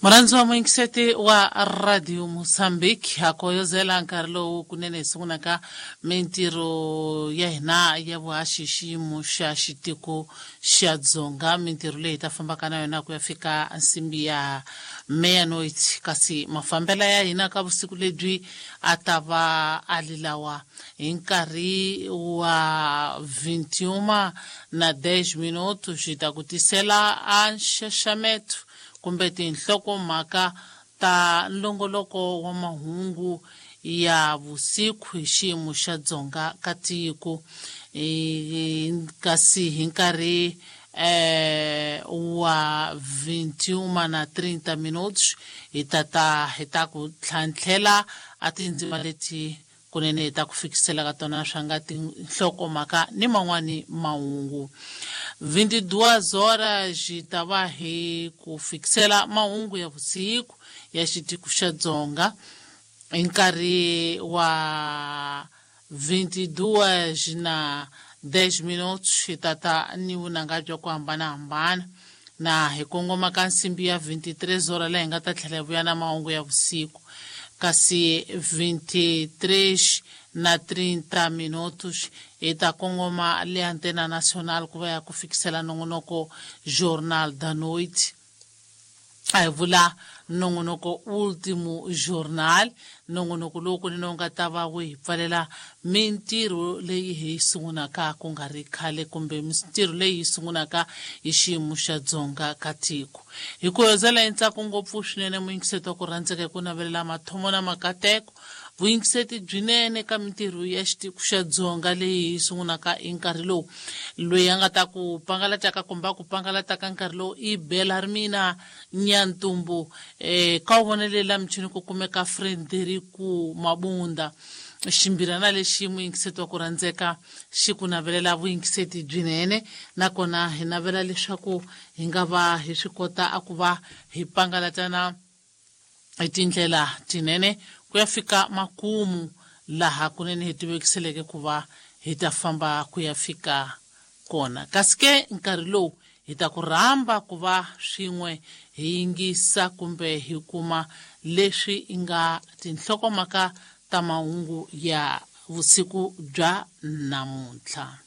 Murhandzi wa muyingiseti wa Radio Mozambique, ha koyozela nkarhi lowu kunene hi sungulaka mintirho ya hina ya vuhaxi xiyimo xa xitiko xa Dzonga, mintirho leyi hi ta fambaka na yona ku ya fika nsimbi ya meia-noite. Kasi mafambela ya hina ka vusiku lebyi a ta va a li lawa: hi nkarhi wa 21 na 10 minutos hi ta ku tisela a nxaxameto kumbe tinhlokomhaka ta nlongoloko wa mahungu ya vusiku hi xiyimo xa Dzonga ka tiko. Kasi hi nkarhi wa 21 na 30 minutos hi tata hi ta ku tlhantlhela a tindzima leti kunene hi ta ku fikisela ka tona swa nga tinhlokomhaka ni man'wani mahungu. 22 horas hi ta va hi ku fikisela mahungu ya vusiku ya xitiko xa Dzonga. Hi nkarhi wa 22 na 10 minutos hi tata ni vunanga bya ku hambanahambana na hi kongoma ka nsimbi ya 23 horas, laha hi nga ta tlhela hi vuya na mahungu ya vusiku. Kasi 23 na 30 minutos hi ta kongoma le Antena Nacional ku va ya ku fikisela nongonoko Jornal da Noite, a hi vula nongonoko Ultimo Journal, nongonoko lowu kunene wu nga ta va wu hi pfalela mintirho leyi hi yi sungulaka ku nga ri khale, kumbe mintirho leyi yi sungulaka hi xiyimo xa Dzonga ka tiko. Hi ku hezela hi ntsako ngopfu swinene, muyingiseti wa ku rhandzeka, hi ku navelela mathomo na makateko, vuyingiseti byinene ka mintirho ya xitiko xa Dzonga leyi hi sungulaka hi nkarhi lowu. Loyi a nga ta ku pangalataka kumbe a ku pangalataka nkarhi lowu i Belarmina Nyantumbu. Ka wu vonele la michini ku kumeka Frederico Mabunda. Ximbirana lexi, muyingiseti wa ku rhandzeka, xi ku navelela vuyingiseti byinene, nakona hi navela leswaku hi nga va hi swi kota a ku va hi pangalatana hi tindlela tinene ku ya fika makumu laha kunene hi tivekiseleke ku va hi ta famba ku ya fika kona. Kasi ke nkarhi lowu hi ta ku rhamba ku va swin'we hi yingisa kumbe hi kuma leswi nga tinhlokomhaka ta mahungu ya vusiku bya namuntlha.